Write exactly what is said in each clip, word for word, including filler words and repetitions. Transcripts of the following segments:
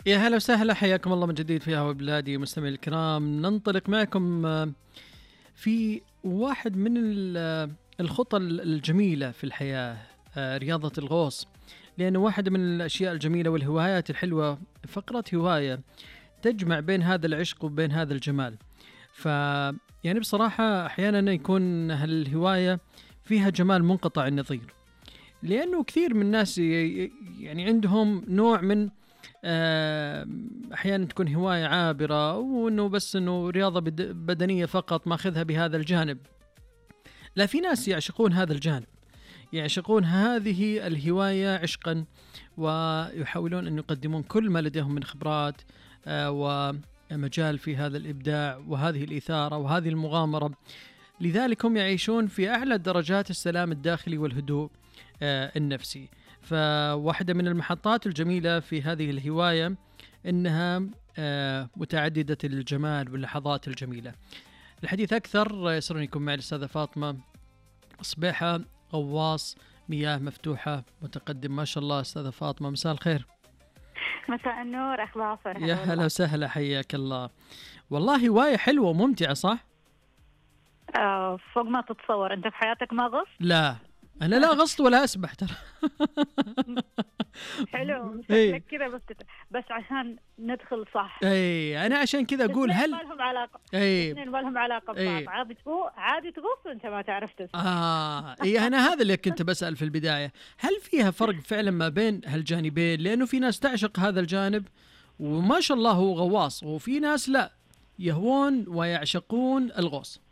يا هلا وسهلا، حياكم الله من جديد في هوا بلادي. مستمعي الكرام، ننطلق معكم في واحد من الخطى الجميلة في الحياة، رياضة الغوص، لأنه واحدة من الأشياء الجميلة والهوايات الحلوة، فقرة هواية تجمع بين هذا العشق وبين هذا الجمال. ف يعني بصراحة أحيانا يكون هالهواية فيها جمال منقطع النظير، لأنه كثير من الناس يعني عندهم نوع من أحيانا تكون هواية عابرة، وأنه بس أنه رياضة بدنية فقط ماخذها بهذا الجانب. لا، في ناس يعشقون هذا الجانب، يعشقون هذه الهواية عشقا، ويحاولون أن يقدمون كل ما لديهم من خبرات ومجال في هذا الإبداع وهذه الإثارة وهذه المغامرة. لذلك هم يعيشون في أعلى درجات السلام الداخلي والهدوء النفسي. فواحدة من المحطات الجميلة في هذه الهواية إنها متعددة الجمال واللحظات الجميلة. الحديث أكثر يسرني يكون معي الأستاذة فاطمة صبيحة، غواص مياه مفتوحة متقدم. ما شاء الله أستاذة فاطمة، مساء الخير. مساء النور أخبار فرح. يا هلا وسهلا، حياك الله. والله هواية حلوة وممتعة، صح؟ آه فوق ما تتصور. أنت في حياتك ما غصت؟ لا، أنا لا غصت ولا أسبح ترى. حلو شكلك كذا، بس بس عشان ندخل صح. اي أنا عشان كذا أقول هل ما لهم علاقة. اي اثنين ما لهم علاقة ببعض. عادي تغوص عادي تغوص وأنت ما تعرف تسبح. آه إيه، أنا هذا اللي كنت بسأل في البداية، هل فيها فرق فعلا ما بين هالجانبين؟ لأنه في ناس تعشق هذا الجانب وما شاء الله هو غواص، وفي ناس لا، يهوون ويعشقون الغوص.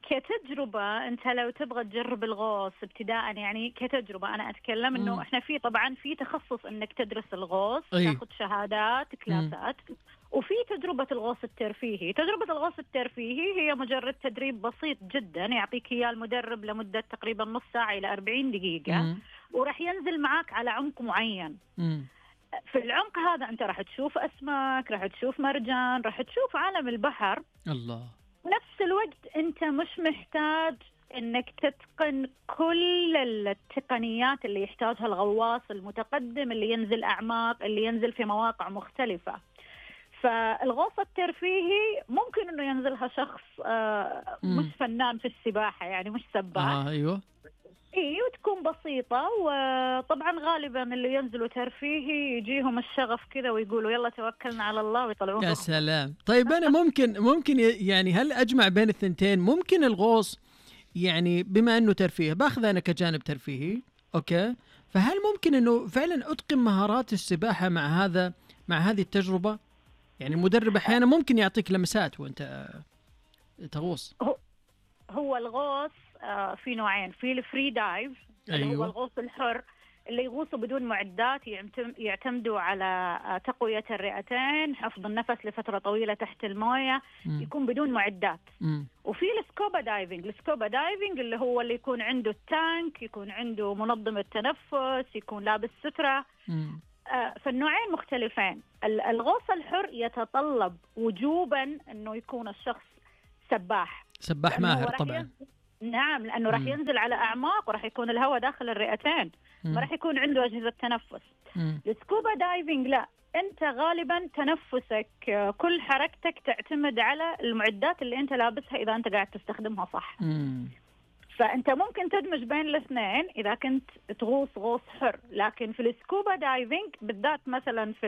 كتجربة أنت لو تبغى تجرب الغوص ابتداء، يعني كتجربة أنا أتكلم إنه مم. إحنا في طبعا في تخصص إنك تدرس الغوص، أي. تاخذ شهادات كلاسات. مم. وفي تجربة الغوص الترفيهي. تجربة الغوص الترفيهي هي مجرد تدريب بسيط جدا يعطيك إياه المدرب لمدة تقريبا نص ساعة إلى أربعين دقيقة. مم. وراح ينزل معك على عمق معين. مم. في العمق هذا أنت راح تشوف أسماك، راح تشوف مرجان، راح تشوف عالم البحر. الله. نفس الوقت أنت مش محتاج أنك تتقن كل التقنيات اللي يحتاجها الغواص المتقدم اللي ينزل أعماق، اللي ينزل في مواقع مختلفة. فالغوص الترفيهي ممكن أنه ينزلها شخص آه مش فنان في السباحة، يعني مش سباح. آه أيوة. إيه، وتكون بسيطة. وطبعا غالبا اللي ينزلوا ترفيهي يجيهم الشغف كذا ويقولوا يلا توكلنا على الله ويطلعون. يا سلام. طيب أنا ممكن ممكن يعني هل أجمع بين الثنتين؟ ممكن الغوص يعني بما أنه ترفيه باخذ أنا كجانب ترفيهي، أوكي، فهل ممكن أنه فعلا أتقن مهارات السباحة مع هذا مع هذه التجربة؟ يعني المدرب أحيانا ممكن يعطيك لمسات وأنت تغوص. هو, هو الغوص آه في نوعين، في الفري دايف. أيوه. اللي هو الغوص الحر اللي يغوصوا بدون معدات، يعتمدوا على تقوية الرئتين، حفظ النفس لفترة طويلة تحت الموية. م. يكون بدون معدات. م. وفي السكوبا دايفنج. السكوبا دايفنج اللي هو اللي يكون عنده التانك، يكون عنده منظم التنفس، يكون لابس سترة. آه فالنوعين مختلفين. الغوص الحر يتطلب وجوبا أنه يكون الشخص سباح سباح ماهر طبعا. نعم، لأنه راح ينزل على أعماق وراح يكون الهواء داخل الرئتين، ما راح يكون عنده أجهزة تنفس. السكوبا دايفنج لا، أنت غالبا تنفسك كل حركتك تعتمد على المعدات اللي أنت لابسها إذا أنت قاعد تستخدمها صح. مم. فأنت ممكن تدمج بين الاثنين إذا كنت تغوص غوص حر. لكن في السكوبا دايفنج بالذات مثلا في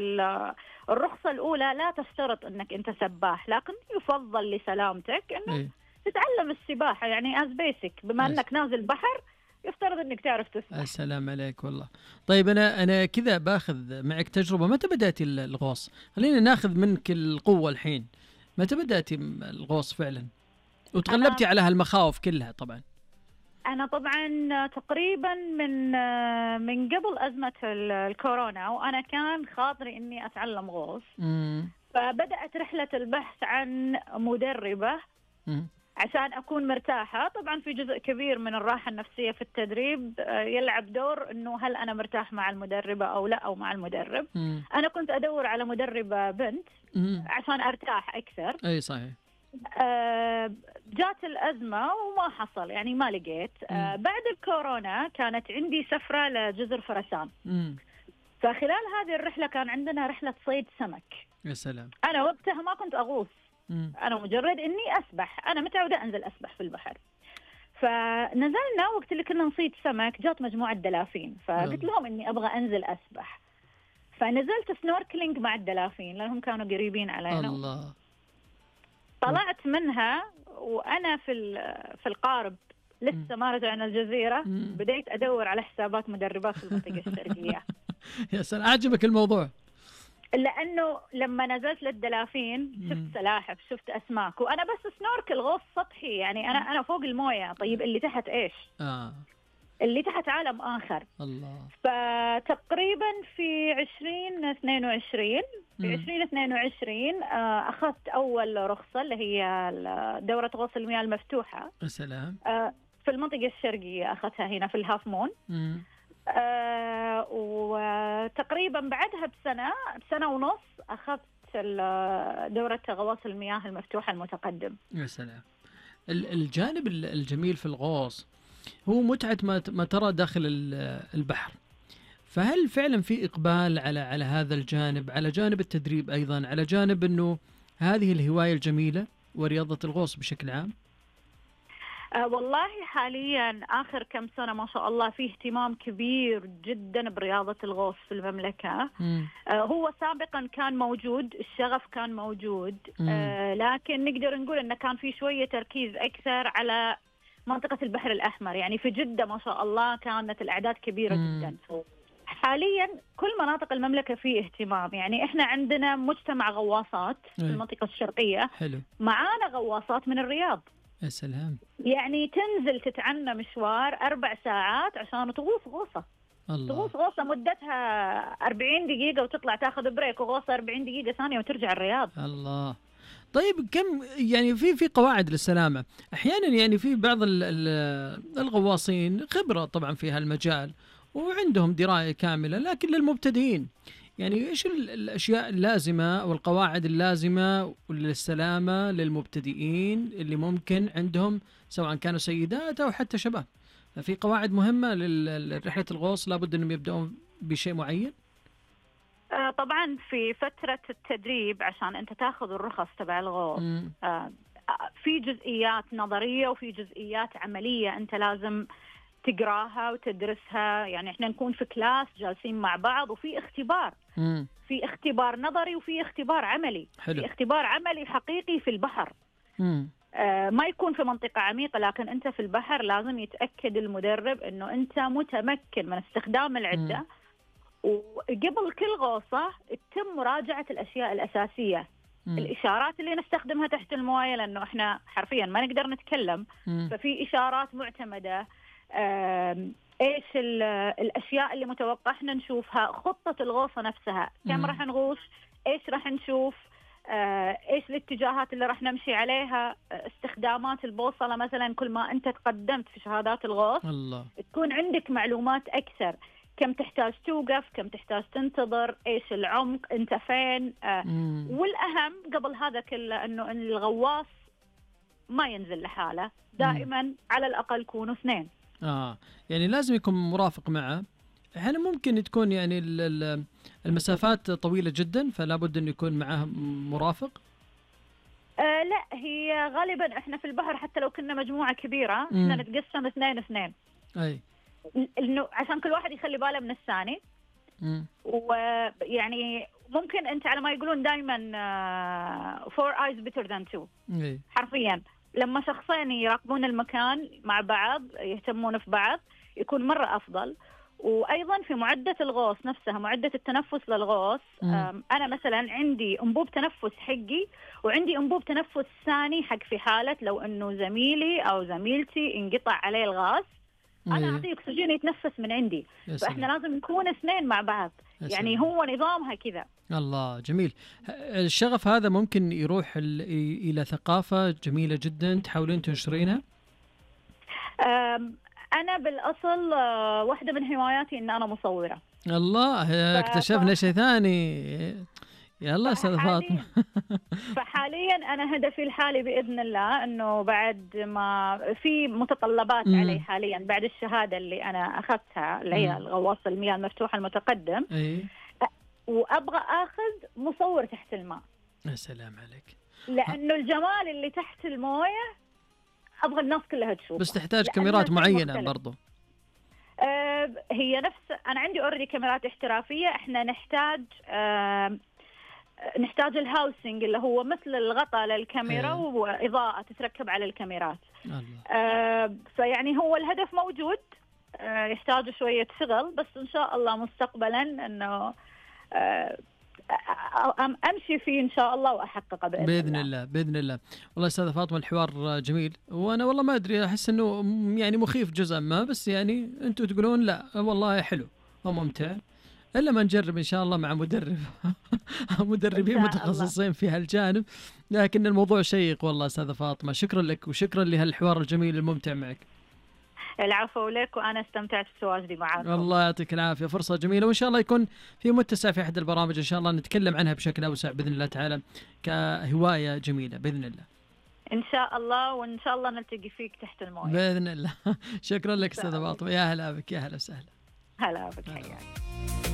الرخصة الأولى لا تشترط أنك أنت سباح، لكن يفضل لسلامتك أنه إيه؟ تتعلم السباحة يعني as basic. بما أس... أنك نازل بحر يفترض أنك تعرف تسبح. السلام عليك والله. طيب أنا أنا كذا باخذ معك تجربة. متى بدأتي الغوص؟ خلينا ناخذ منك القوة الحين. متى بدأتي الغوص فعلا وتغلبتي أنا... على هالمخاوف كلها؟ طبعا أنا طبعا تقريبا من من قبل أزمة الكورونا وأنا كان خاطري إني أتعلم غوص. م. فبدأت رحلة البحث عن مدربة م. عشان أكون مرتاحة. طبعا في جزء كبير من الراحة النفسية في التدريب يلعب دور إنه هل أنا مرتاح مع المدربة أو لا أو مع المدرب. م. أنا كنت أدور على مدربة بنت م. عشان أرتاح أكثر. أي صحيح. آه جات الأزمة وما حصل، يعني ما لقيت. آه بعد الكورونا كانت عندي سفرة لجزر فرسان. م. فخلال هذه الرحلة كان عندنا رحلة صيد سمك. يا سلام. أنا وقتها ما كنت أغوص، مم. أنا مجرد إني أسبح، أنا متعودة أنزل أسبح في البحر. فنزلنا وقت اللي كنا نصيد سمك جات مجموعة دلافين، فقلت لهم إني أبغى أنزل أسبح، فنزلت سنوركلينج مع الدلافين لأنهم كانوا قريبين علينا. الله. طلعت منها وأنا في في القارب لسه ما رجعنا الجزيرة، بديت أدور على حسابات مدربات في المنطقة الشرقية. يا سلام، عجبك الموضوع؟ لأنه لما نزلت للدلافين شفت سلاحف، شفت أسماك، وأنا بس سنوركل غوص سطحي، يعني أنا أنا فوق الموية. طيب اللي تحت إيش؟ آه. اللي تحت عالم آخر. الله. فتقريبا في عشرين اثنين وعشرين في عشرين اثنين وعشرين آه أخذت أول رخصة اللي هي دورة غوص المياه المفتوحة. السلام. آه في المنطقة الشرقية، أخذتها هنا في الهاف مون. آه وتقريبا بعدها بسنة بسنة ونص أخذت دورة غواص المياه المفتوحة المتقدم. يا سلام. الجانب الجميل في الغوص هو متعة ما ترى داخل البحر، فهل فعلا في إقبال على على هذا الجانب، على جانب التدريب أيضا، على جانب أنه هذه الهواية الجميلة ورياضة الغوص بشكل عام؟ أه والله حاليا آخر كم سنة ما شاء الله في اهتمام كبير جدا برياضة الغوص في المملكة. أه هو سابقا كان موجود، الشغف كان موجود، أه لكن نقدر نقول أنه كان في شوية تركيز أكثر على منطقة البحر الأحمر. يعني في جدة ما شاء الله كانت الأعداد كبيرة مم. جدا. حاليا كل مناطق المملكة فيه اهتمام. يعني احنا عندنا مجتمع غواصات في المنطقة الشرقية. حلو. معانا غواصات من الرياض. يا سلام. يعني تنزل تتعنى مشوار أربع ساعات عشان تغوص غوصة. الله. تغوص غوصة مدتها أربعين دقيقة وتطلع تاخذ بريك، وغوصة أربعين دقيقة ثانية وترجع الرياض. الله. طيب كم يعني في في قواعد للسلامة؟ أحيانا يعني في بعض الغواصين خبرة طبعا في هالمجال وعندهم دراية كاملة، لكن للمبتدئين يعني إيش الأشياء اللازمة والقواعد اللازمة للسلامة للمبتدئين اللي ممكن عندهم سواء كانوا سيدات أو حتى شباب؟ في قواعد مهمة لرحلة الغوص لابد أنهم يبدأون بشيء معين؟ طبعا في فترة التدريب عشان أنت تاخذ الرخص تبع الغوص في جزئيات نظرية وفي جزئيات عملية أنت لازم تقراها وتدرسها. يعني احنا نكون في كلاس جالسين مع بعض وفي اختبار. مم. في اختبار نظري وفي اختبار عملي. حلو. في اختبار عملي حقيقي في البحر. آه ما يكون في منطقة عميقة، لكن انت في البحر لازم يتأكد المدرب انه انت متمكن من استخدام العدة. مم. وقبل كل غوصة تتم مراجعة الاشياء الاساسية. مم. الاشارات اللي نستخدمها تحت الموية، لانه احنا حرفيا ما نقدر نتكلم. مم. ففي اشارات معتمدة. ايش الاشياء اللي متوقع احنا نشوفها، خطة الغوصة نفسها، كم راح نغوص، ايش راح نشوف، ايش الاتجاهات اللي راح نمشي عليها، استخدامات البوصلة مثلا. كل ما انت تقدمت في شهادات الغوص الله. تكون عندك معلومات اكثر، كم تحتاج توقف، كم تحتاج تنتظر، ايش العمق، انت فين. والاهم قبل هذا كله انه الغواص ما ينزل لحاله، دائما مم. على الاقل يكونوا اثنين. آه يعني لازم يكون مرافق معه. أحيانا ممكن تكون يعني المسافات طويلة جدا فلا بد أن يكون معه مرافق. آه لا، هي غالبا احنا في البحر حتى لو كنا مجموعة كبيرة احنا نتقسم اثنين اثنين. أي. إنه عشان كل واحد يخلي باله من الثاني. ويعني ممكن أنت على ما يقولون دائما uh, four eyes better than two. أي. حرفيا لما شخصين يراقبون المكان مع بعض يهتمون في بعض يكون مرة أفضل. وأيضا في معدة الغوص نفسها، معدة التنفس للغوص، أنا مثلا عندي أنبوب تنفس حقي وعندي أنبوب تنفس ثاني حق في حالة لو أنه زميلي أو زميلتي انقطع عليه الغاز أنا أعطيه أكسجين يتنفس من عندي. فإحنا لازم نكون اثنين مع بعض. يعني هو نظامها كذا. الله جميل. الشغف هذا ممكن يروح إلى ثقافة جميلة جدا تحاولين تنشرينها؟ أنا بالأصل واحدة من هواياتي إن أنا مصورة. الله اكتشفنا ف... شيء ثاني. يلا استاذة فاطمة. فحاليا انا هدفي الحالي باذن الله انه بعد ما في متطلبات مم. علي حاليا بعد الشهادة اللي انا اخذتها اللي هي الغواص المياه المفتوحة المتقدم. أي. وابغى اخذ مصور تحت الماء. يا سلام عليك. لانه الجمال اللي تحت المويه ابغى الناس كلها تشوفه. بس تحتاج كاميرات معينة برضو. آه هي نفس انا عندي اوريدي كاميرات احترافية. احنا نحتاج آه نحتاج الهاوسنج اللي هو مثل الغطاء للكاميرا هي. واضاءة تتركب على الكاميرات. آه فيعني هو الهدف موجود. آه يحتاج شوية شغل بس ان شاء الله مستقبلا انه آه امشي فيه ان شاء الله واحققه باذن, بإذن الله. الله باذن الله. والله استاذة فاطمة الحوار جميل، وانا والله ما ادري احس انه يعني مخيف جزءا ما، بس يعني انتم تقولون لا والله حلو وممتع، الا ما نجرب ان شاء الله مع مدرب مدربين متخصصين في هالجانب. لكن الموضوع شيق والله استاذة فاطمة، شكرا لك وشكرا لهالحوار الجميل الممتع معك. العفو لك، وأنا استمتعت بتواجدي معاكم. الله يعطيك العافية، فرصة جميلة، وإن شاء الله يكون في متسع في أحد البرامج إن شاء الله نتكلم عنها بشكل أوسع بإذن الله تعالى كهواية جميلة بإذن الله. إن شاء الله، وإن شاء الله نلتقي فيك تحت الموية بإذن الله. شكرا لك أستاذة فاطمة، يا هلا بك، يا هلا وسهلا. هلا بك حياك.